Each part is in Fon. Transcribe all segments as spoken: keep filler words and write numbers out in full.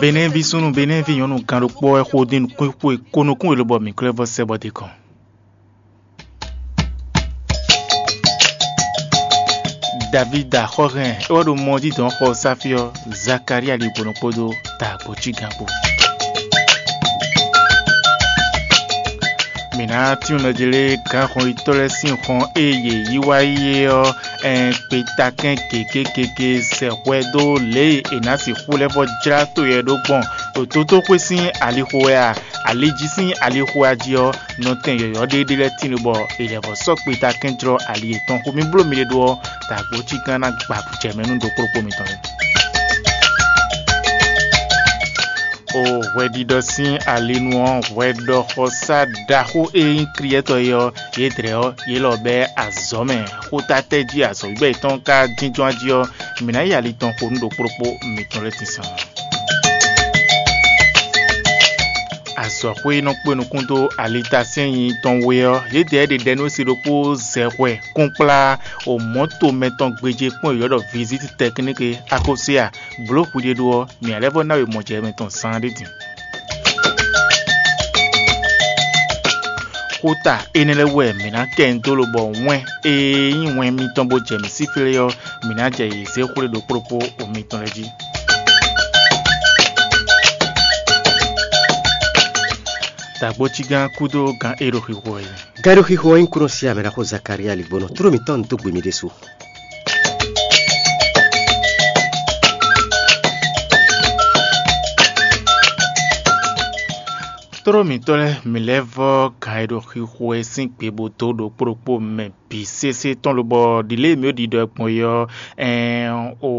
Benɛ́ví súnnu, Benɛ́ví nyɔ̌nu gán ɖokpó wɛ xo dín nukún xwe ko nukún e lobɔ mǐ klɛ́ vɔ sɛ bɔ d'é kɔn. Davída xɔ hɛn é wɛ ɖo mɔ jí dɔn xɔ sáfí ɔ́, Zakalía ɖi gbɔn kpódó ta gbɔ̌cígán kpó. Mǐ ná tín nɔ jlé gǎnxɔnyitɔ́ lɛ́ɛ sín xɔn e yě yí wá yi é ɔ́, ɛn kpetakɛn gěgé gěgé sɛ hwɛ dó lě e è nǎ sixú lɛ́ vɔ jlá to yɛ ɖó gbɔn ɖo tótóxwé sín alixo wɛ a? Ali jí sín alixo a jí ɔ́, nɔtɛn yɔ̌yɔ́ ɖé ɖé lɛ́ɛ tíin bɔ è lɛ̌ vɔ sɔ́ kpetakɛn jlɔ́ ali yětɔn xomɛ bló mi ɖé ɖó ɔ́, dǎgbó cígán ná gba jɛ mɛ nú ɖokpóɖokpó mitɔn lɛ́ɛ. O hwɛɖiɖɔ sín alinu ɔ́, hwɛɖɔxɔsá ɖaxó e nyí Kliyɛ́tɔ́ é ɔ́, yědɛɛ ɔ́, yě lɔ bɛ́ azɔ̌ mɛ. Xóta tɛ́ jí azɔ̌wígbɛ́ yětɔn ka jínjɔ́n jí ɔ́, mǐ ná yi ali tɔn xo nú ɖokpóɖokpó mitɔn lɛ́ɛ tínsan. Azɔ̌xwé e nɔ kpé nukún dó alitasɛ́n nyi tɔn we ɔ́, yědɛɛ ɖe ɖɛ nú si ɖokpó zɛ hwɛ kúnkplá o mɔ̌to mɛtɔn gbeje kpɔ́n e ylɔ́ ɖɔ vizíti tɛkníki akɔ́síya blǒ hwiɖéɖó ɔ́, mǐ ná lɛ́ vɔ ná we mɔjɛmɛ tɔn zaan ɖé din. Xóta énɛ́ lɛ́ɛ wɛ mǐ ná kɛ nyi dó lobɔ wɛn e nyí wɛn mitɔn bó jɛ mǐ síflé ɔ́, mǐ ná jɛ yě zé xwlé ɖokpó ɖokpó o mitɔn lɛ́ɛ jí. Dǎgbócígán kúdó gǎn e ɖo xixo wɛ. Gǎn e ɖo xixo ɔ́ nyí kúnɔ sí amɛ ɖaxó Zakalía ligbɔnɔ, tló mǐtɔn dó gbe mì ɖésú. Tló mǐtɔn lɛ́ɛ, mǐ lɛ́ vɔ́ gǎn e ɖo xixo wɛ sín gbe bó dó ɖokpó ɖokpó mɛ bǐ sésé tɔn lobɔ ɖi lě e mǐ ɖo ɖiɖɔ ɛ gbɔn é ɔ́, ɛɛn o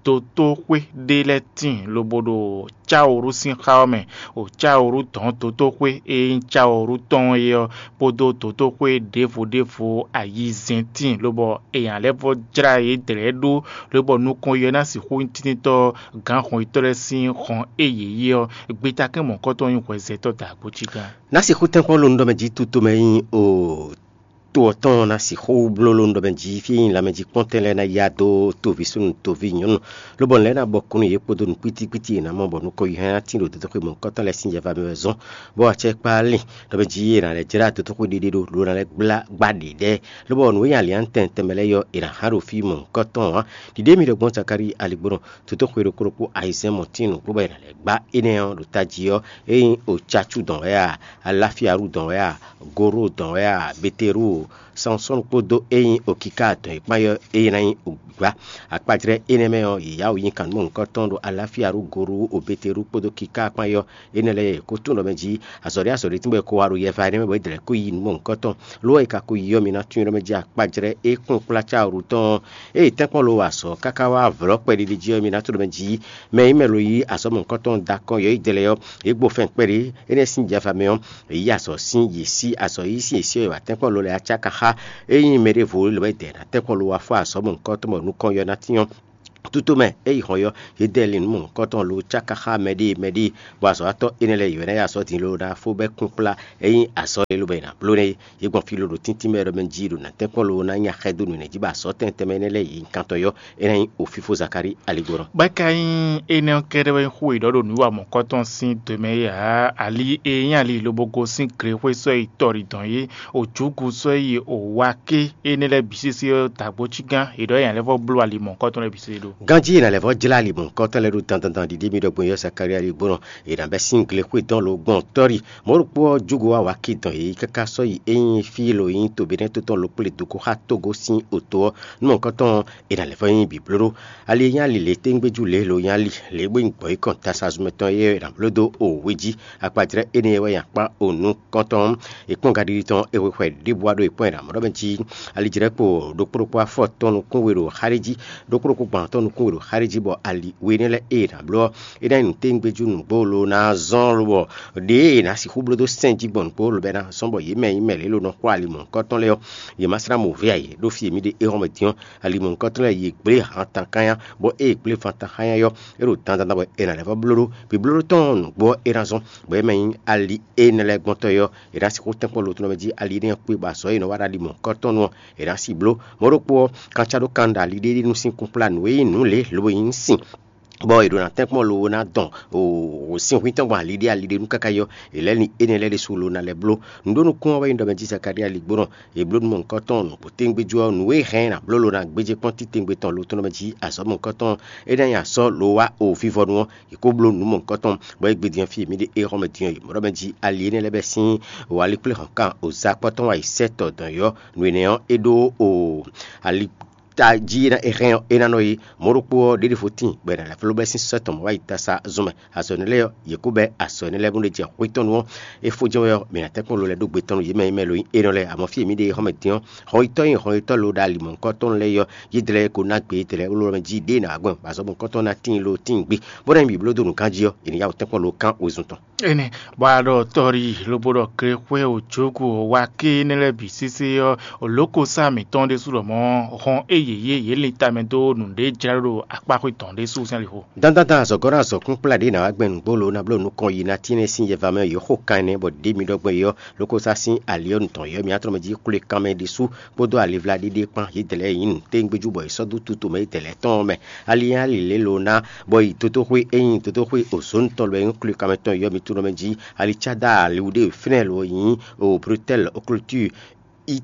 dotóxwé ɖé lɛ́ɛ tíin lobo ɖo cáwǔɖu sín xá ɔ́ mɛ, o cáwǔɖu dɔ̌n dotóxwé e nyí cáwǔɖu tɔn é ɔ́, kpódó dotóxwé ɖěvo ɖěvo ayizɛ́n tíin lobɔ è nya lɛ́ vɔ́ jlá yě dlɛ̌ ɖó lobɔ nukɔn yɔ ná sixú nyí tíntítɔ́ gǎn hɔnyitɔ́ lɛ́ɛ sín hɔn e yě yí ɔ́, gbetakɛ́n mɔ̌kɔ́tɔn nyí hwɛzɛtɔ́ dǎgbócígán. Ná sixú tɛ́nkpɔ́n ló nú ɖɔ mɛ jí tutomɛ nyí o to ɔ́ tɔn ná sixú bló ló nú ɖɔ mɛ jí fí e nyí lanmɛjíkpɔ́ntɛn lɛ́ɛ ná yá dó toví súnnu toví nyɔ̌nu, lobɔ nǔ lɛ́ɛ ná bɔ kún nú yě kpódó nǔ kpítíkpítí e è nǎ mɔ bɔ nukɔn yi hɛn ná tín ɖo dotoxwe mɔ̌hunkɔtɔn lɛ́ɛ sín yɛva mɛ wɛ zɔ́n, bó wá acɛ kpá lin ɖɔ mɛ jí è nǎ lɛ́ jlá dotoxwe ɖiɖe ɖo, ló ná lɛ́ gbá gbá ɖě ɖɛ́, lobɔ nǔ e nyí ali ɔ́ tɛnmɛ tɛnmɛ lɛ́ɛ ɔ́, è nǎ hán ɖo fí mɔ̌hunkɔtɔn ǎ. Ɖiɖe mi ɖɔ gbɔn Zakalíi aligbɔnɔ, dotoxwe ɖokpó ɖokpó ayizɛ́n mɔ̌tín nǔgbó bɔ è nǎ lɛ́ gbá énɛ́ ɔ́ ɖo tají ɔ́, é nyí Ocacú dɔn wɛ a, Aláfíaɖu dɔn wɛ a, Goró dɔn wɛ a, Beterú, Sansɔ́nu kpódó é nyí Okiká dɔn e kpán ɔ́, é ná nyí gbǎ. Akpajlɛ́ énɛ́ mɛ ɔ́, yě yá wǔ nyi kannumɔ nukɔntɔn ɖo Aláfíaɖu Gorú o Beterú kpódó Kiká kpán ɔ́, énɛ́ lɛ́ɛ ko tunwun ɖɔ mɛ jí azɔ̌ ɖé azɔ̌ ɖé tínbɔ è ko wa ɖo yɛva énɛ́ mɛ bɔ é dlɛ̌ kó yi nú mɔ̌hunkɔtɔn. Lo ɔ́, è ka ko yi ɔ́, mi ná tunwun ɖɔ mɛ jí akpajlɛ́ é kplɔ́n kplá cáwǔɖu tɔn ɔ́, ée tɛ́nkpɔ́n lo wa azɔ̌ káká wá vlɔ̌ kpɛɖiɖi jí ɔ́, mi ná tunwun ɖɔ mɛ jí mɛ e nyí mɛ lo yí azɔ̌ mɔ̌hunkɔtɔn dɔn akɔ́n yɔ̌yidɛlɛ́ ɔ́, yě gbo fɛ́n kpɛɖé énɛ́ sín jɛfa mɛ ɔ́, yě yí azɔ̌ sín yě sí azɔ̌ yí sín yě sí ɔ́, è wa tɛ́nkpɔ́n lo lɛ́ɛ acá ka xá. Ényí mɛ ɖěvo lɛ́ wɛ dɛ ná tɛ́nkpɔ́n lo wá fó azɔ̌ mɔ̌hunkɔtɔn bɔ nukɔn yɔ ná tín ɔ́, Tutome é yi hɔn ɔ́, yě dɛ lin nú mɔ̌hunkɔtɔn lo cáká xá mɛɖée mɛɖée, bɔ azɔ̌watɔ́ énɛ́ lɛ́ɛ yě wɛ ná yi azɔ̌ din loo ná fó bɛ́ kúnkplá é nyí azɔ̌ e lobo è nǎ bló nɛ́ é. Yě gbɔn fí ló ɖo tíntín mɛ ɖɔ mɛ jí ɖo nǎ tɛ́nkpɔ́n loo ná nya xɛdó nǔ nɛ́ jí bɔ azɔ̌ tɛnmɛ tɛnmɛ énɛ́ lɛ́ɛ yě nyí kantɔ́ yɔ́, é ná nyí ofífó Zakalíi aligbɔnɔ. Bɔ é ka nyí énɛ́ ɔ́ kɛ́ɖɛ́ wɛ nyí xó e ɖɔ ɖo nǔ wa mɔ̌kɔtɔn sín do mɛ é ǎ. Ali e nyí ali lobo gosín glexwé sɔ́ yi tɔɖi dɔn é, o jǔgu sɔ́ yi o wa ké énɛ́ lɛ́ɛ bǐ sésé ɔ́, dǎgbócígán è ɖɔ é nya lɛ́ vɔ́ bló ali mɔ̌kɔtɔn lɛ́ɛ bǐ sésé ɖó. Ganjí è nǎ lɛ́ vɔ́ jlá ali mɔ̌hunkɔtɔn lɛ́ɛ ɖó dandan ɖiɖe mì ɖɔ gbɔn yɔ Zakalía ɖi gbɔn è nǎ bɛ́ sín glexwé dɔn lo gbɔn tɔ́ri. Mɔ̌ ɖokpó ɔ́, júgo wá wǎ ki dɔn yě yi káká sɔ́ yi é nyí fí e lo nyí to Benɛ́to tɔn lo kplé dǒ ko xá Togo sín oto ɔ́, nú mɔ̌hunkɔtɔn ɔ́, è nǎ lɛ́ vɔ́ nyí bǐblóɖó. Ali e nyí ali lě téŋgbéjú lě e lo nyí ali lě e bó nyí gbɔ̌yǐkɔn tasazu mɛtɔn é ɔ́, è nǎ bló dó o wé jí. Akpajlɛ́ énɛ́ wɛ nyi akpá o nukɔntɔn ɔ́. È kpɔ́n gaɖiɖi tɔn e hwexwɛ ɖěbǔ wá ɖo è kpɔ́n è nǎ mɔ ɖɔ mɛ jí. Ali jlɛ̌ kpo ɖokpó ɖokpó afɔ tɔn nukún we ɖo xá ɖé jí, ɖokpó ɖokpó gban tɔn nukún we ɖo xá ɖé jí, bɔ ali we énɛ́ lɛ́ɛ e è nǎ bló ɔ́, é ná nyí nǔtɛ́ngbéjú nǔgbó lo ná zɔ́n lobɔ ɖěe è nǎ sixú bló dó sɛ́n jí gbɔn nǔgbó lobɔ é ná zɔ́n bɔ yě mɛ e nyí mɛ lě lo nɔ xo ali mɔ̌hunkɔtɔn lɛ́ɛ ɔ́, yě ma slá mɔ vɛ́ ǎ. Yě ɖo fí e mǐ ɖe é hɔn mɛ din ɔ́, ali mɔ̌hunkɔtɔn lɛ́ɛ yě gblé han tankánya, bɔ ée è gblé van tankánya ɔ́, é ɖo dandan bɔ è nǎ lɛ́ vɔ́ bló ɖó. Vǐblóɖó tɔn ɔ́ nǔgbó ɔ́ é ná zɔ́n, bɔ é mɛ nyí ali énɛ́ lɛ́ɛ gbɔn tɔn ɔ́, è nǎ sixú tɛ́nkpɔ́n lo tɔn mɛ jí ali énɛ́ ɔ́ kpé bɔ azɔ̌ e è nɔ wa ɖo ali mɔ̌hunkɔtɔn nu ɔ́, è nǎ si bló. Mɔ̌ ɖokpó ɔ́, kanca ɖó kan ɖo ali ɖé ɖíe nú sín kúnkplá nǔ e nyí nǔ lě lobo nyí sin bɔ è ɖo ná tɛ́nkpɔ́n lowo ná dɔn wǒ sín hwín tɔn gbɔn ali ɖé ali ɖé nú káká yɔ, è lɛ́ lin énɛ́ lɛ́ɛ ɖésú lo ná lɛ́ bló. Nǔɖónúkún ɔ́ wɛ nyí ɖɔ mɛ jí Zakalía ligbónɔ, è bló nú mɔ nukɔn tɔn nǔgbó téŋgbéjú ɔ́, nǔ e hɛn ná bló lo ná gbéjé kpɔ́n títewungbe tɔn lo tɔn mɛ jí azɔ̌ mɔ nukɔn tɔn, é ná nyí asɔ́ lo wá o vívɔ́nu ɔ́, è kó bló nǔ mɔ nukɔn tɔn, bɔ é gbe din ɔ́ fí e mǐ ɖe é xɔ́ mɛ din ɔ́, è mɔ ɖɔ mɛ jí ali énɛ́ lɛ́ɛ bɛ́ sín wǒ alikpléhɔ̌nkan o za kpɔ́ tɔn wá yi sɛ́ tɔ dɔn yɔ́. Nǔ énɛ́ ɔ́, é ɖó o ali ta jí é ná é hɛn ɔ́, é ná nɔ yi. Mɔ̌ ɖokpó ɔ́, ɖěɖéfo tíin, bɔ è nǎ lɛ́ fló bɛ́ sín sɔ́ tɔn mɔ̌ wá yi tasa zɔn mɛ. Azɔ̌ énɛ́ lɛ́ɛ ɔ́, yě kó bɛ́ azɔ̌ énɛ́ lɛ́ɛ bó ɖ'é jɛ xwé tɔn nu ɔ́, é fó jɛ́n wɛ ɔ́, mǐ ná tɛ́nkpɔ́n lo lɛ́ɛ ɖó gbe tɔn nu yě mɛ nyí mɛ lo nyí énɛ́ lɛ́ɛ. Amɔ̌ fí e mǐ ɖe é xɔ́ mɛ din ɔ́, hɔnyitɔ́ nyí hɔnyitɔ́ lo ɖo ali mɔ̌hunkɔtɔn lɛ́ɛ yi ɔ́, yědɛɛ lɛ́ɛ ko ná gbe yědɛɛ lɛ́ɛ wló mɛ jí ɖěe ná wá gbɔn, bɔ azɔ̌ mɔ̌hunkɔtɔn ná tíin lo tíin gbe, bó ná nyí mǐ bló dó nǔ ganjí ɔ́, è nǐ yá wǔ tɛ́nkpɔ́n lo kán wezun tɔn. Énɛ́, bɔ a ɖɔ tɔ́ɖi lobo ɖɔ glexwɛ wǒjógǔ wá ké énɛ́ lɛ́ɛ bǐ sésé ɔ́, lǒkosá mǐtɔn ɖésú lɔmɔ̌ hɔn é yě yé yě lin tamɛ dó nǔɖé jlá ɖo akpáxwé tɔn ɖésú sín alixo. Dandandan azɔ̌gɔ́ ɖo azɔ̌kún kplá ɖě ná wá gbɛn nǔgbó lo ná bló nukɔn yi ná tínɛ́ sín yɛva mɛ yě xo kan énɛ́ bɔ ɖě mi ɖɔ gbɛn é ɔ́, lókosá sín ali ɔ́ nu tɔn yɔ́ mǐtɔn mɛ jí xwlé kanmɛ ɖésú kpódó alivla ɖíɖí kpán yědɛɛ lɛ́ɛ nyí nǔ téŋgbéjú bɔ è sɔ́ dó tuto mɛ yědɛɛ lɛ́ɛ tɔn ɔ́ mɛ. Ali énɛ́ ali lě lo ná, bɔ yi dotóxwé é nyí dotóxwé ozǒnu tɔn lɔ e nyí xwlé kanmɛ tɔn yɔ́ mi tunɔ mɛ jí. Ali cá dó ali wú ɖé fínɛ́ lo nyí o Brutɛ́l Oklutúu. I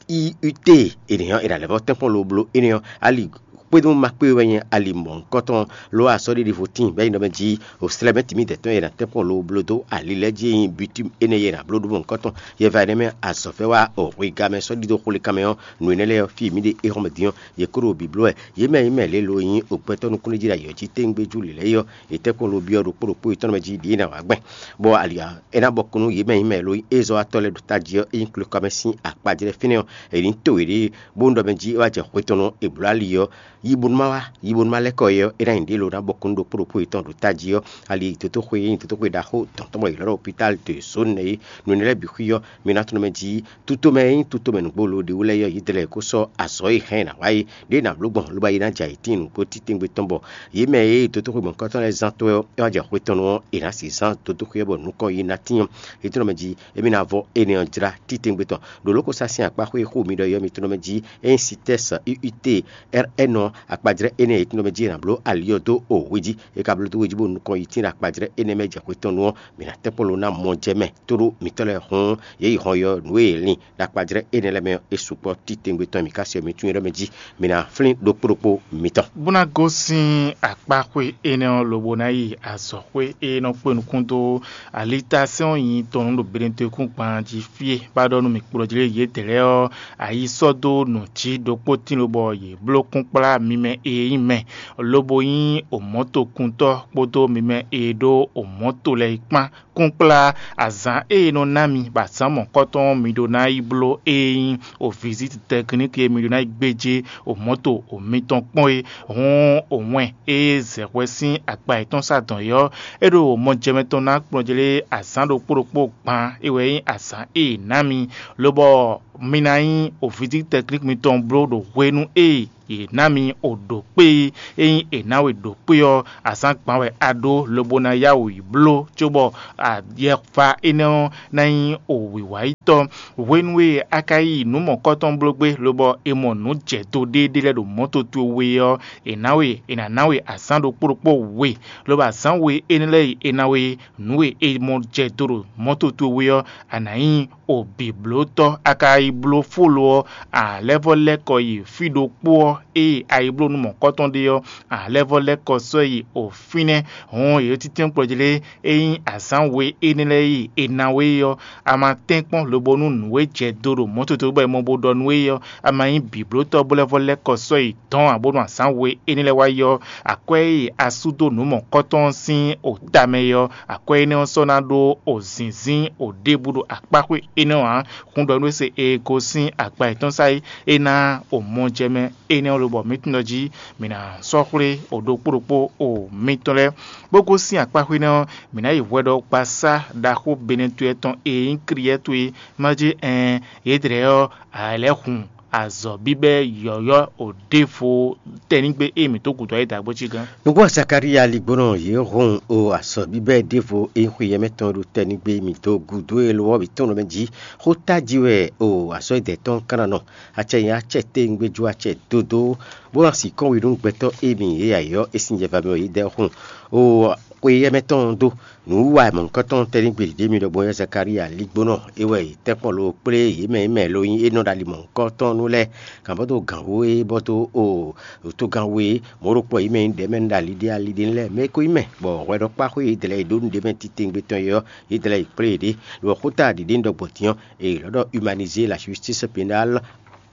i ute. Énɛ́ ɔ́, è nǎ lɛ́ vɔ́ tɛ́nkpɔ́n lo bló énɛ́ ɔ́, ali kpédó ma kpé wɛ nyí ali mɔ̌hunkɔtɔn, lo asɔ́ ɖé ɖěvo tíin bɔ é nyí nɔ mɛ jí o slɛ́ mɛ tǐmídɛ̌ tɔn e è nǎ tɛ́nkpɔ́n lo bló dó ali lɛ́ɛ jí e nyí bitímu énɛ́ e è nǎ bló ɖó mɔ̌hunkɔtɔn. Yɛva énɛ́ mɛ azɔ̌ fɛ́ wá o hwegá mɛ sɔ́ ɖidó xwlé kanmɛ ɔ́, nǔ énɛ́ lɛ́ɛ ɔ́, fí e mǐ ɖe é xɔ́ mɛ din ɔ́, yě kó ɖo bǐbló wɛ. Yě mɛ e nyí mɛ lě lo nyí o gbɛtɔ́ nukúnɖéjí ɖo ayǐ ɔ́ jí téŋgbéjú lě lɛ́ɛ yi ɔ́, yě tɛ́nkpɔ́n lo byɔ́ ɖokpó ɖokpó yětɔn mɛ jí ɖě e è nǎ wá gbɛn, bɔ ali ɔ́, é ná bɔ kún nú yě mɛ e nyí mɛ lo nyí ézɔ́watɔ́ lɛ́ɛ ɖo tají ɔ́, é nyí klokɔ́mɛ sín akpa jlɛ́ fínɛ́ ɔ́, è nǐ to yě ɖée, bónú ɖɔ mɛ jí é wá jɛ xwe tɔn nú è blǒ ali ɔ́, yi bónú má wá, yi bónú má lɛ́ kɔ é ɔ́, é ná nyí ɖě lo ná bɔ kún nú ɖokpó ɖokpó yětɔn ɖo tají ɔ́. Ali dotóxwe e nyí dotóxwe ɖaxó dɔ̌n tɔn bɔ è ylɔ́ ɖɔ hopitál de zǒn nɛ́ é, nǔ énɛ́ lɛ́ɛ bǐ xwí ɔ́, mi ná tunwun mɛ jí tutó mɛ e nyí tutó mɛ nǔgbó lo ɖě wú lɛ́ɛ yɔ́ yědɛɛ lɛ́ɛ kó sɔ́ azɔ̌ e hɛn ná wá é, ɖěe ná bló gbɔn lobo yi ná jɛ ayǐtín nǔgbó títɛ́ngbé tɔn bɔ yě mɛ e dotóxwe mɔ̌hunkɔtɔn lɛ́ɛ zán tó ɔ́, é wá jɛ xwe tɔn nu ɔ́, è nǎ sixú zán dotóxwe ɔ́ bɔ nukɔn yi ná tín ɔ́, é tlɔ́ mɛ jí émí ná vɔ énɛ́ ɔ́ jlá títɛ́ngbé tɔn. Ɖo lǒ ko sá sín akpá xwé xú mi ɖɔ yɔ́ mi tlɔ́ mɛ jí é nyí sitɛ́s UUT RN ɔ́, akpajlɛ́ énɛ́ e tlɔ́ mɛ jí è nǎ bló ali ɔ́ dó o hwe jí. É ka bló dó hwe jí bónú nukɔn yi tín ɖo akpajlɛ́ énɛ́ mɛ jɛ xwe tɔn nu ɔ́, mǐ ná tɛ́nkpɔ́n lo ná mɔ jɛ mɛ tóɖó mǐtɔn lɛ́ɛ hɔn yě yi hɔn yɔ nǔ e è lin ɖo akpajlɛ́ énɛ́ lɛ́ɛ mɛ ɔ́, é sukpɔ́ títɛ́ngbé tɔn e mǐ ka se ɔ́, mi tunwun é ɖɔ mɛ jí, mi ná flín ɖokpó ɖokpó mitɔn. Bó ná gosín akpáxwé énɛ́ ɔ́ lobo ná yi azɔ̌xwé e nɔ kpé nukún dó alitasɛ́n ɔ́ nyi tɔn nú ɖo Benedekúngban jí fí e bá ɖɔ nú mì kplɔ́ jí lé yědɛɛ lɛ́ɛ ɔ́, ayi sɔ́ dó nǔ jí ɖokpó tín lobɔ yě bló kúnkplá mi mɛ e nyí mɛ, lobo nyí omɔ̌tokuntɔ́ kpódó mi mɛ e ɖó omɔ̌to lɛ́ɛ kpán kúnkplá azǎn e è nɔ ná mi bɔ azǎn mɔ̌kɔtɔn ɔ́ mi ɖó ná yi bló e nyí o viziti tɛkníki e mi ɖó ná yi gbéjé o mɔ̌to o mitɔn kpɔ́n é. Hǔn o wɛn e zɛ hwɛ sín akpa yětɔn sá dɔn é ɔ́, é ɖo mɔjɛmɛ tɔn ná kplɔ́njlé azǎn ɖokpó ɖokpó gban é wɛ nyí azǎn e è nǎ mi, lobɔ mi ná nyí o viziti tɛkníki mitɔn bló ɖo hwenu e yě ná mi o ɖǒkpé e nyí è nǎ we ɖǒkpé ɔ́, azǎn gban wɛ a ɖó lobo ná yá wǔ yi bló, cóbɔ ayɛfa énɛ́ ɔ́ ná nyí o wǐwáyítɔ́. Hwenu e a ka yi nǔ mɔ̌kɔtɔn bló gbé, lobɔ è mɔ nǔ jɛ do ɖéeɖée lɛ́ɛ ɖo mɔ̌ towe ɔ́, è nǎ we è nǎ ná we azǎn ɖokpó ɖokpó we, lobo azǎn we énɛ́ lɛ́ɛ e è ná we nǔ e è mɔ jɛ do ɖo mɔ̌ towe ɔ́, a nǎ nyí o bǐblótɔ́. A ka yi bló fó lo ɔ́, a lɛ́ vɔ́ lɛ́ kɔ yi fí ɖokpó ɔ́, ée a yi bló nú mɔ̌kɔtɔn ɖe ɔ́, a lɛ́ vɔ́ lɛ́ kɔ sɔ́ yi o fínɛ́. Hɔn yě títɛ́nkplɔ́ jí lé, ényí azǎn we énɛ́ lɛ́ɛ yi è ná we ɔ́, a ma tɛ́nkpɔ́n lobo nú nǔ e jɛ do ɖo mɔ̌ towe bɔ è mɔ bo ɖɔ nú we ɔ́, a ma nyí bǐblótɔ́ bó lɛ́ vɔ́ lɛ́ kɔ sɔ́ yi dɔ̌n ǎ bónú azǎn we énɛ́ lɛ́ɛ wá yi ɔ́, akwɛ́ e a sú dó nǔ mɔ̌kɔtɔn ɔ́ sín o tamɛ é ɔ́, akwɛ́ énɛ́ ɔ́ sɔ́ ná ɖó o zǐnzín o ɖěbǔ ɖo akpáxwé énɛ́ ɔ́ ǎ. Hun ɖɔ nú we se e gosín akpa yětɔn sá é, é ná o mɔjɛmɛ énɛ́ ɔ́ lobɔ mǐ tunwun ɖɔ jí mǐ ná sɔ́ xwlé o ɖokpó ɖokpó o mitɔn lɛ́ɛ, bó gosín akpáxwé énɛ́ ɔ́, mǐ ná yi hwɛɖɔgbasá ɖaxó Benɛtue tɔn e nyí Kliyɛ́ towe, má jí ɛɛn, yědɛɛ ɔ́, a lɛ́ hun azɔ̌ bíbɛ́ yɔ̌yɔ́ o ɖěvo tɛnígbe e mǐ dó gǔdo ɔ́ yi dǎgbó cí gán. Nǔgbó Zakalía ligbónɔ yě hun o azɔ̌ bíbɛ́ ɖěvo e nyí xweyɛ́mɛ tɔn ɖo tɛnígbe mǐ dó gǔdo e lo ɔ́ mǐ tɔn nɔ mɛ jí. Xó tají wɛ o azɔ̌ e dɛ̌ tɔn ka ná nɔ. Acɛ nyí acɛ téwúngbéjú acɛ dódó, bó ná sixú wi nú gbɛtɔ́ e mǐ yě ayǐ ɔ́, é sín jɛ va mɛ wɛ yě dɛ́ xun o xweyɛ́mɛ tɔn dó. Nǔwiwa mɔ̌hunkɔtɔn tɛ́ ní gbe ɖě mi ɖɔgbɔn ɔ́, Zakalía ligbónɔ é wɛ è tɛ́ kpɔ́n lo kplé yě mɛ e mɛ lo nyí é nɔ ɖo ali mɔ̌hunkɔtɔn nú lɛ́ɛ, kan bɔ dó gǎn wú é bɔ dó o togán wú é, mɔ̌ ɖokpó yě mɛ nyí ɖɛ̌ mɛ nú ɖo ali ɖé ali ɖé lɛ́ɛ mɛ é ko nyí mɛ, bɔ hwɛɖɔkpáxwé yě dlɛ̌ yě ɖó nú ɖě mɛ titewungbe tɔn é ɔ́, yě dlɛ̌ yě kplé yě ɖě. Lo ɔ́, xóta ɖě ɖé un ɖɔ gbɔn din ɔ́, è lɔ̌ ɖɔ humanizé la justice pénale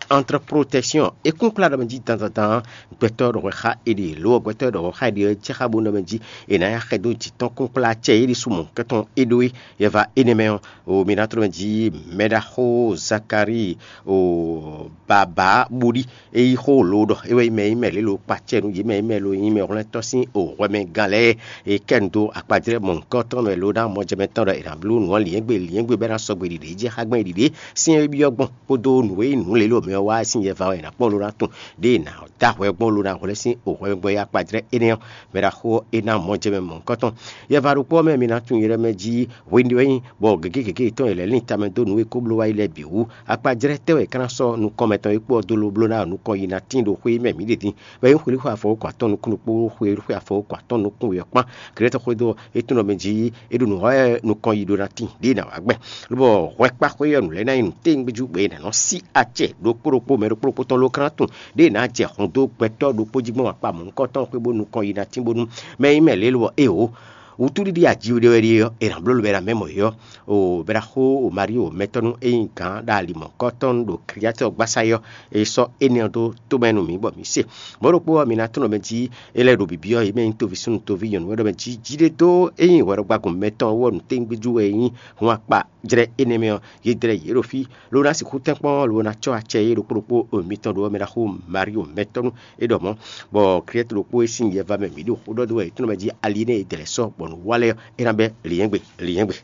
entre protection. É kún kplá ɖɔ mɛ jí dandandan gbɛtɔ́ ɖɔ hwɛ xá è ɖe, lo ɔ́ gbɛtɔ́ ɖɔ hwɛ xá è ɖe ɔ́ jɛ xá bó nɔ mɛ jí è nǎ ya xɛ dó jǐ tɔn kún kplá acɛ é ɖésú mɔ̌hunkɔtɔn é ɖó é. Yɛ va énɛ́ mɛ ɔ́, o mi ná tlɔ́ mɛ jí mɛɖaxó Zakalíi o bǎbá bóɖí é yí xó lo ɖɔ é wɛ nyí mɛ e nyí mɛ lě lo kpa acɛ nú yě mɛ e nyí mɛ lo nyí mɛ hwlɛ́ntɔ́ sín o hwɛmɛgán lɛ́ɛ. É kɛ nu dó akpajlɛ́ mɔ̌hunkɔtɔn mɛ lo ná mɔjɛmɛ tɔn ɖɔ è nǎ bló nǔ ɔ́ lǐnyɛ́gbe lǐnyɛ́gbe bɔ é ná sɔgbe ɖiɖě jɛ xá gbɛn ɖiɖě sín é byɔ́ gbɔn kpódó nǔ e nyí nǔ lě lo mɛ ɔ́ wá sín yɛ va wɛ è nǎ kpɔ́n lo ná tunwun ɖěe è nǎ dó ahwɛ gbɔn lo ná hwlɛ́n sín o hwɛmɛgán e akpajlɛ́ énɛ́ ɔ́ mɛ ɖaxó ɔ́ é ná mɔjɛmɛ mɔ̌hunkɔtɔn. Yɛ va ɖokpó ɔ́ mɛ mi ná tunwun yɛ lɛ́ɛ mɛ jí hwenu ɖé wɛ nyí bɔ gěgé gěgé yětɔn e lɛ́ lin tamɛ dó nǔ e ko bló wá yi lɛ́ɛ bǐ wú. Akpajlɛ́ tɛ́ wɛ é ka ná sɔ́ nukɔn mɛtɔn e kpó ɔ́ dó ló bló ná nukɔn yi ná tín ɖo xwé mɛ mǐ ɖe din? Bɔ é nyí xwelíxwe afɔwókɔ atɔn nukún ɖokpó xwelíxwe afɔwókɔ atɔn nukún wěyɔ́kpán. Glɛ̌tɔ́ xwedó ɔ́, é tunwun ɖɔ mɛ jí é ɖo nǔ wa wɛ nukɔn yi ɖó ná tín ɖěe è nǎ wá gbɛn. Lobɔ hwɛkpáxwé ɔ́ nǔ lɛ́ɛ ná nyí nǔ téwúngbéjú gbě è nǎ nɔ sí acɛ ɖokpó ɖokpó mɛ ɖokpó ɖokpó tɔn ló krán tunwun ɖěe è nǎ jɛ hɔn dó gbɛtɔ́ ɖokpó jí gbɔn akpa mɔ̌hunkɔtɔn xwé bó nukɔn yi ná tín bónú mɛ e nyí mɛ lě lobɔ éeǒ wútúɖiɖi ajiɖé wɛ ɖíe ɔ́, è nǎ bló lobɛ ná mɛ mɔ̌ é ɔ́. O bɛ́ ná xó o Marío mɛtɔ́nú e nyí gǎn ɖo ali mɔ̌hunkɔtɔn ɖo Kliatɔ́ gbásá é ɔ́, è sɔ́ énɛ́ ɔ́ dó tomɛ nú mǐ bɔ mǐ se. Mɔ̌ ɖokpó ɔ́, mi ná tunwun ɖɔ mɛ jí é lɛ́ ɖo bǐbí ɔ́, yě mɛ nyí toví súnnu toví nyɔ̌nu wɛ ɖɔ mɛ jí jí ɖé dó é nyí hwɛɖɔgbágun mɛtɔn ɔ́ wú ɔ́, nǔ téwúngbéjú wɛ é nyí hun akpa jlɛ́ énɛ́ mɛ ɔ́, yě dlɛ́ yě ɖo fí, ló ná sixú tɛ́nkpɔ́n, ló ná cɔ́ acɛ é ɖokpó ɖokpó mitɔn ɖo ɔ́ mɛ ná xo Marío mɛtɔ́nú é ɖɔ mɔ̌, bɔ Kliyɛ́tɔ ɖokpó e sín yɛ va mɛ mǐ ɖo xó ɖɔ dó wɛ è tunwun mɛ jí ali énɛ́ e è dlɛ̌ sɔ́ bɔ nǔ wa lɛ́ɛ ɔ́, é ná bɛ́ lǐnyɛ́gbe lǐnyɛ́gbe.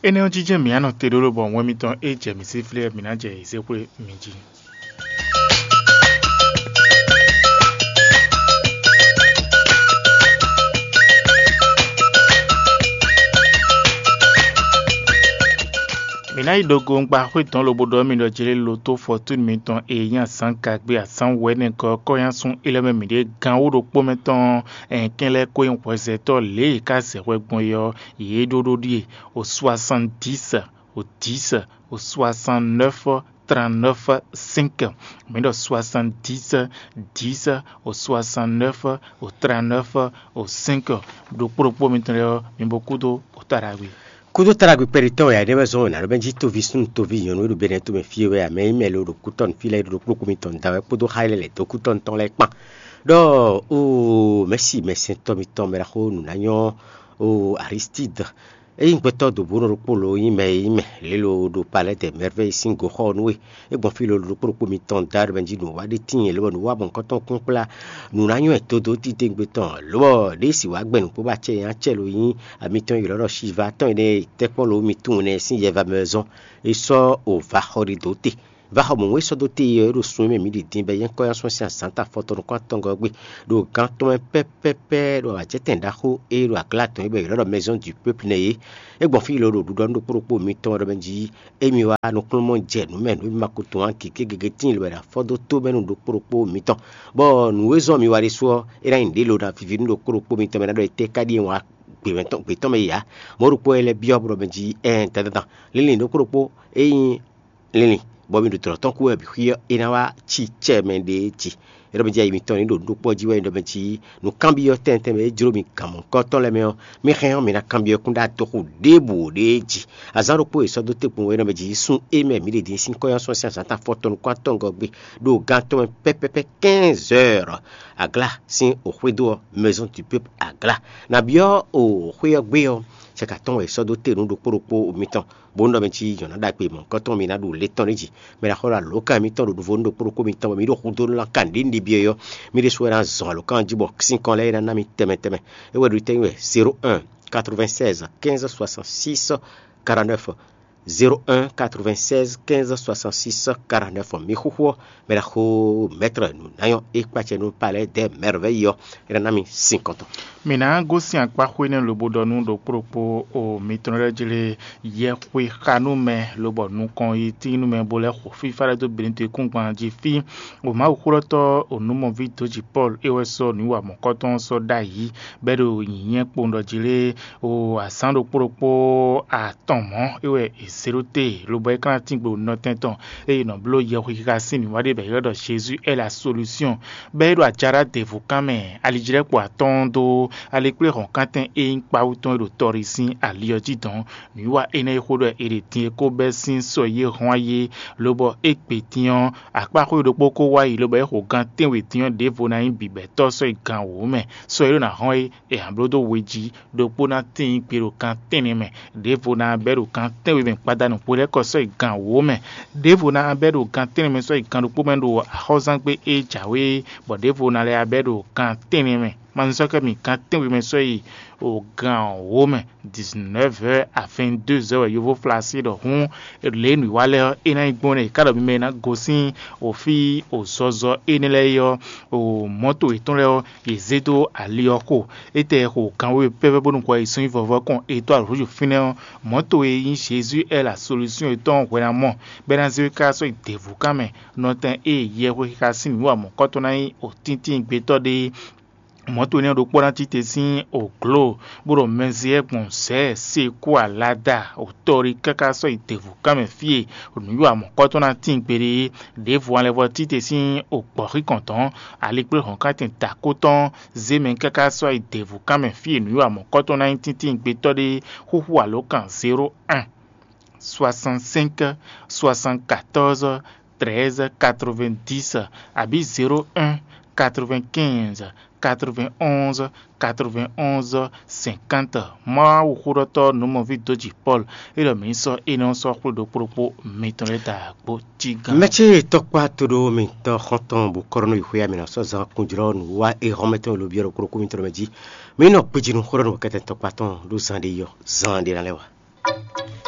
Énɛ́ ɔ́ jínjɛ́n mǐ á nɔ te ɖó lobɔ wɛn mitɔn e jɛ mǐ sí flé ɔ́, mǐ ná jɛ yě zé xwé mi jí. Mǐ ná yi ɖo gongba xwé dɔn lobo ɖɔ mì ɖɔ jlé lo tó fɔtúnu mitɔn e nyí azǎn gagbe azǎn wɛ̌nɛgɔ́ kɔ́nyásun élɔ́ mɛ mǐɖée gán wú ɖokpó mɛ tɔn ɛn kɛn lɛ́ɛ ko nyí hwɛzɛtɔ́ lě e è ká zɛ hwɛ gbɔn é ɔ́, yě ɖó ɖó ɖíe: o soixante-dix, o dix, o soixante-neuf, trente-neuf, cinq. Mǐ ɖɔ soixante-dix, dix, o soixante-neuf, o trente-neuf, o cinq. Ɖokpó ɖokpó mitɔn lɛ́ɛ ɔ́, mi bo kúdó o ta ɖagbe. Kúdó táɖagbe kpɛɖitɔ́ wɛ ǎ ɖé wɛ zɔ́n wěná ɖó mɛ jí toví súnnu toví nyɔ̌nu e ɖo Benɛ́ tomɛ fí e wɛ ǎ, mɛ nyí mɛ lo ɖo kútɔ́ fí lɛ́ɛ ɖo ɖokpó kúmi tɔn da wɛ kpódó xá lɛ́ lɛ̌ dó kútɔ́ tɔn lɛ́ɛ kpán. Ɖɔ oo mɛ̌si mɛsɛntɔ́ mitɔn mɛ ɖaxó nǔ ná nyɔ́ oo Aristídi. É nyí gbɛtɔ́ dǒbúnɔ ɖokpó lo nyí mɛ e nyí mɛ lě lo ɖo Palɛ́ dɛ Mɛrvɛ́yi sín goxɔ ɔ́ nú we. É gbɔn fí lo ɖo ɖokpó ɖokpó mitɔn da ɖo mɛ jí nǔ wa ɖé tíin lobɔ nǔ wa mɔ̌hunkɔtɔn kún kplá nǔ ná nywɛ́ dodó titewungbe tɔn lobɔ ɖěe sì wá gbɛn nǔ kpó bɔ acɛ nyanya acɛ lo nyí amitɔn yi lɔ̌ ɖɔ Shiva tɔn énɛ́ e tɛ́kpɔ́n lo mi tunwun nɛ́ sín yɛva mɛ wɛ zɔ́n. É sɔ́ o vaxɔ ɖi dǒ te. Vaxɔ mɔ̌hun e sɔ́ dó te ɔ́, é ɖo sun e mɛ mǐ ɖi din bɔ é nyí kɔ́ nyi asɔ́ sín azǎn ta afɔtɔn nukún atɔngɔ́ ɔ́ gbe, ɖo gǎn tɔn mɛ pɛ́pɛ́pɛ́ ɖo awǎjɛtɛn ɖaxó e ɖo aglá tɔn e bɔ è ylɔ́ ɖɔ Maison du Peuple nɛ́ é. É gbɔn fí lo ɖo ɖuɖɔ nú ɖokpó ɖokpó mitɔn ɔ́ ɖɔ mɛ jí émi wá nukúnnú jɛ nǔ mɛ nǔ e mi ma ko tunwun ǎ gěgé gěgé tíin lo wɛ ɖo afɔ dó tó mɛ nú ɖokpó ɖokpó mitɔn, bɔ nǔ e zɔ́n mi wa ɖésú ɔ́, é ná nyí nǔɖé lo ná víví nú ɖokpó ɖokpó mitɔn mɛ ná ɖɔ étɛ́ ka ɖíe wǎn gbětɔn mɛ yě ǎ. Mɔ̌ ɖokpó wɛ lɛ́ byɔ́ bɔ ɖɔ mɛ jí ɛɛn dandandan, linlin ɖokpó ɖokpó e nyí linlin, bɔ mi ɖo dlɔ̌ tɔn kú wɛ bǐ xwí ɔ́, é ná wá cí cɛ mɛ ɖě jí. É ɖɔ mɛ jí ayi mitɔn ní ɖo nǔ ɖokpó ɔ́ jí wɛ é ɖɔ mɛ jí nǔkanbyɔ́ tɛnmɛ tɛnmɛ e jló mi gǎn mɔ̌hunkɔtɔn lɛ́ɛ mɛ ɔ́, mi hɛn ɔ́, mi ná kanbyɔ́ kún ɖó adóxo ɖěbǔ ɖě jí. Azǎn ɖokpó e sɔ́ dó te kpowun wɛ é ɖɔ mɛ jí sun émɛ mǐ ɖe din sín kɔ́ nyí asɔ́ sín azǎn ta afɔtɔn nukún atɔngɔ́ gbe ɖo gan tɔn mɛ pɛ́pɛ́pɛ́ quinze heures. Aglá sín o xwédo ɔ́, Maison du Peuple Aglá. Nǎ byɔ́ o xwé ɔ́ gbé ɔ́, cɛka tɔn wɛ è sɔ́ dó te nú ɖokpó ɖokpó mitɔn. Bó nɔ mɛ cí nyɔ̌ná ɖagbe mɔ̌hunkɔtɔn mi ná ɖu lě tɔn ɖé jí. Mɛ ná xɔ ɖo alǒkan mitɔn ɖo ɖuvo nú ɖokpó ɖokpó mitɔn bɔ mi ɖo xudó nú lan kan ɖě ɖi byɔ́ é ɔ́, mi ɖésú wɛ ná zɔn alǒkan jí bɔ sínkɔn lɛ́ɛ é ná ná mi tɛnmɛ tɛnmɛ. É wɛ ɖo tɛ́nyi wɛ zéro un quatre-vingt-seize quinze soixante-six quarante-neuf. Zéro un quatre-vingt-seize quinze soixante-six quarante-neuf. Mi xúxú ɔ́, mɛ ɖaxó mɛtrɛ nǔnanyɔ e kpacɛ nú palɛ dɛ mɛrvɛyi ɔ́, é ná ná mi sin kɔntɔn. Mǐ ná gosín akpáxwé nɛ́ lobo ɖɔ nú ɖokpó ɖokpó o mitɔn lɛ́ɛ jlé yɛxwexanúmɛ lobɔ nukɔn yi tínúmɛ bó lɛ́ xo fífá lɛ́ɛ dó Benito kúngban jí fí. O Mawuxólɔ́tɔ́ o nǔmɔví dǒjì Pɔ́lu é wɛ sɔ́ nǔ wa mɔ̌kɔ́tɔn sɔ́ ɖ'ayǐ, bɔ é ɖo nyǐnyɛ́ kpowun ɖɔ jí lé o azǎn ɖokpó ɖokpó atɔn mɔ̌ é wɛ è zě ɖó te, lobɔ é ka ná tín gbe ɖo nɔtɛn tɔn ée è nɔ bló yɛhwexixa sín nǔwiwa ɖé bɔ è ylɔ́ ɖɔ Jezu est la solution. Bɔ é ɖo ajaɖá ɖěvo kan mɛ, alijlɛ́kpo atɔ́ɔ́n dó alikpléhɔ̌nkántɛn e nyí kpawú tɔn e ɖo tɔɖi sín ali ɔ́ jí dɔn. Nǔwiwa énɛ́ e xó ɖɔ è ɖe din e ko bɛ́ sín sɔ e yě hɔn wá yé, lobɔ é gbe din ɔ́, akpáxwé ɖokpó ko wá yi, lobɔ é xo gan tɛ́nwe din ɔ́ ɖěvo ná nyí bǐbɛ́tɔ́ sɔ́ yi gan wǒ mɛ. Sɔ e ɖó ná hɔn é, è nǎ bló dó we jí, ɖokpó ná tíin gbe ɖo gan tɛ́nnɛ mɛ, ɖěvo ná bɛ́ ɖo gan tɛ́nwe mɛ gbadanu hwelɛ́kɔ sɔ́ yi gan wǒ mɛ, ɖěvo ná bɛ́ ɖo gan tɛ́nnɛ mɛ sɔ́ yi gan ɖokpó mɛ ɖo axɔ́zángbé e jǎwe é, bɔ ɖěvo ná lɛ́ bɛ́ ɖo gan tɛ́nnɛ mɛ. Ma nɔ sɔ́ kɛ mi gan tɛ́nwe mɛ sɔ́ yi o gan wǒ mɛ, dix-neuf heures à vingt-deux heures wɛ yovó flá sí ɖɔ hǔn lě nǔwiwa lɛ́ɛ ɔ́, é ná nyí gbɔn nú è ká ɖɔ mi mɛ e ná gosín òfí òzɔzɔ énɛ́ lɛ́ɛ é ɔ́, o mɔ̌to yětɔn lɛ́ɛ ɔ́, yě zé dó ali ɔ́ xo. Étɛ́ xo gan wěwe pɛ́pɛ́ bónú hwɛ yi sɔ́ nyí vɔvɔ kɔn e dó alǒ fínɛ́ ɔ́, mɔ̌to e nyí Jezu ɛ́ la solúsyɔn yětɔn hwɛ ná mɔ, bɔ é ná zé wé káká sɔ́ yi děvú kan mɛ. Nɔtɛn e yɛhwexixa sín nǔ wa mɔ̌kɔ́tɔn ná nyí òtíntín gbetɔ́ ɖé é. Mɔ̌to énɛ́ ɖokpó ná tite sín ògló, bó ɖo mɛziyɛ́ gbɔn zɛ̌, sekú alada, òtɔ́rí káká sɔ́ yi děvú kan mɛ fí e nǔ wa mɔ̌kɔ́tɔn ná tíin gbeɖé é. Ɖěvo alɛvɔ tite sín ògbɔ̌xíkɔn tɔn, alikpléhɔ̌nkántɛn dǎkó tɔn, zé mɛ káká sɔ́ yi děvú kan mɛ fí e nǔ wa mɔ̌kɔ́tɔn ná nyí tíntín gbetɔ́ ɖé. Xúxú alǒkan zéro un, soixante-cinq, soixante-quatorze, treize quatre-vingt-dix, abǐ zéro un, quatre-vingt-quinze, quatre-vingt-onze, quatre-vingt-onze, cinquante. Mawuxóɖɔtɔ́ nǔmɔví dójì Pɔ́lu, é ɖɔ mǐ ní sɔ́ énɛ́ ɔ́ sɔ́ xwlé ɖokpó ɖokpó mitɔn lɛ́ɛ da gbo cí gán. Mɛ̌ ce tɔkpá toɖó mitɔn xɔ́ntɔn bǔ kɔ́ɖɔnú yi xwé amǐ ná sɔ́ zán kúnjlɔ́ nǔ wá é hɔn mɛtɔn e lo byɔ́ ɖokpó ɖokpó mitɔn mɛ jí. Mǐ nɔ kpejinu xó ɖɔ nǔ kɛtɛn tɔkpá tɔn ɖó zan ɖé yɔ, zan ɖé ná lɛ́ wá.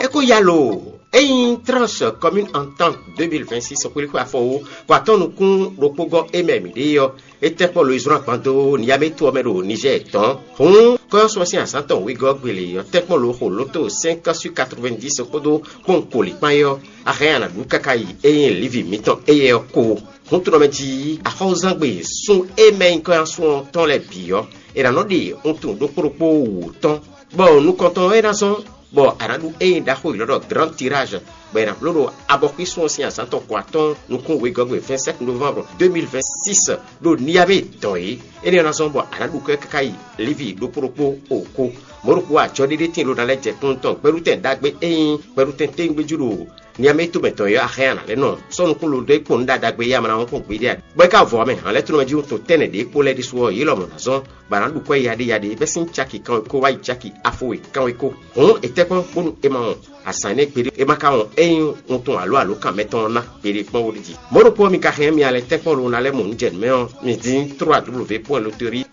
É kó ya lo ényí Tranche Commune Entente deux mille vingt-six xwlíxwé afɔwó kó atɔ́ nukún ɖokpó gɔ́ é mɛ mǐ ɖe ɔ́, é tɛ́ kpɔ́ lo yi zlɔ́n agban dó Niamey to ɔ́ mɛ ɖo Nizɛ́ɛ tɔn. Hǔn kɔ́yɔ́sú ɔ́ sín azǎn tɔn wegɔ́ gbele ɔ́ tɛ́ kpɔ́ lo xo lǒto cinq sur quatre-vingt-dix kpódó kpɔ́n koli kpán é ɔ́, a hɛn a nǎ ɖu káká yi ényí lívi mǐtɔn éyɛ́ ɔ́ ko. Hǔn to ɔ́ mɛ jí axɔ́zángbè sún e mɛ nyí kɔ́yɔ́sú ɔ́ tɔn lɛ́ɛ bǐ ɔ́, è nǎ nɔ ɖe wuntun ɖokpó ɖokpó wǔ tɔn, bɔ nukɔntɔn ɔ́ é ná zɔ́n bɔ a nǎ ɖu ényí ɖaxó ylɔ́ ɖɔ Grand Tirage, bɔ è nǎ bló ɖo abɔxwísun ɔ́ sín azǎn tɔn ko atɔ́ɔ́n nukún wegɔ́gbe vingt-sept novembre deux mille vingt-six ɖo Niamey dɔn é. Énɛ́ ɔ́ ná zɔ́n bɔ a nǎ ɖu kɔ́ ɛ káká yi Livi ɖokpó ɖokpó o ko. Mɔ̌ ɖokpó ajɔɖéɖé tíin ɖó ná lɛ́ jɛ kplɔ́n tɔn gbɛɖutɛn ɖagbe e nyí gbɛɖutɛn téwúngbéjú ɖo Niamey tomɛ tɔn ɔ́ axɛ́ a nǎ lɛ́ nɔ sɔ́ nukún lo dó é kpɔ́n nú ɖaɖagbe e ama ná wɔn kpɔ́n gbeɖé ǎ. Bɔ é ka vɔ ɔ́ mɛ, hǎn lɛ́ɛ tlóló mɛ jí wuntun tɛ́nnɛ ɖě kpó lɛ́ɛ ɖésú ɔ́, yě lɔmɔ̌ ná zɔ́n, bɔ a nǎ ɖu kɔ́ e yaɖéyaɖé bɛ́ sín caki kanwekó wá yi caki afo we kanwekó. Hǔn è tɛ́ kpɔ́n bónú è ma wɔn azǎn énɛ́ gbeɖé, è ma ka wɔn ényí wuntun alo alǒkan mɛtɔn ɔ́ ná gbeɖé kpɔ́n wóɖíji. Mɔ̌ ɖokpó ɔ́, mi ka hɛn mì alɛ tɛ́nkpɔ́n lo ná lɛ́ mɔ nǔ jɛ nǔ mɛ ɔ́, mi dín trois w point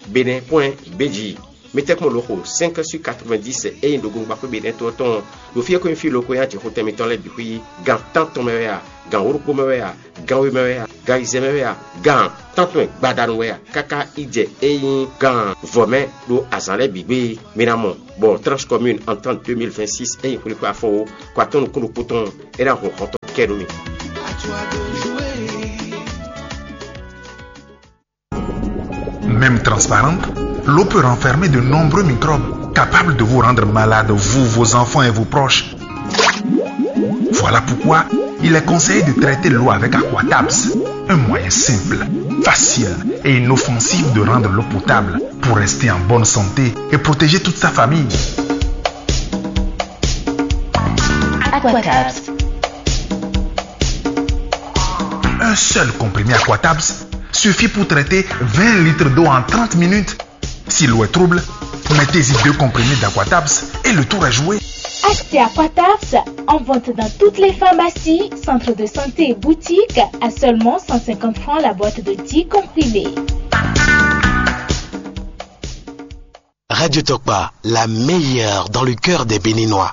bénin point b j. Mi tɛ́nkpɔ́n lo xo cinq sur quatre-vingt-dix e nyí ɖogbongbaxwé Benɛ́ to ɔ́ tɔn ɔ́, ɖo fí e ko nyí fí lo ko nyí ajixotɛn mitɔn lɛ́ɛ bǐ xwí, gan tántɔn mɛ wɛ a, gan wǒ ɖokpó mɛ wɛ a, gan we mɛ wɛ a, gan ayizɛ́n mɛ wɛ a, gan tántɔn gbadanu wɛ a, káká yi jɛ e nyí gan vɔ̌ mɛ ɖo azǎn lɛ́ɛ bǐ gbe. Mi ná mɔ bɔ Tranche Commune Entente deux mille vingt-six e nyí xwlíxwé afɔwó kó atɔ́ nukún ɖokpó tɔn é ná hun hɔn tɔn kɛ nú mi. Même transparente, l'eau peut renfermer de nombreux microbes capables de vous rendre malade, vous, vos enfants et vos proches. Voilà pourquoi il est conseillé de traiter l'eau avec Aquatabs. Un moyen simple, facile et inoffensif de rendre l'eau potable pour rester en bonne santé et protéger toute sa famille. Aquatabs. Un seul comprimé Aquatabs suffit pour traiter vingt litres d'eau en trente minutes. Si l'eau est trouble, mettez-y deux comprimés d'Aquatabs et le tour est joué. Achetez Aquatabs en vente dans toutes les pharmacies, centres de santé et boutiques à seulement cent cinquante francs la boîte de dix comprimés. Radio Tokpa, la meilleure dans le cœur des Béninois.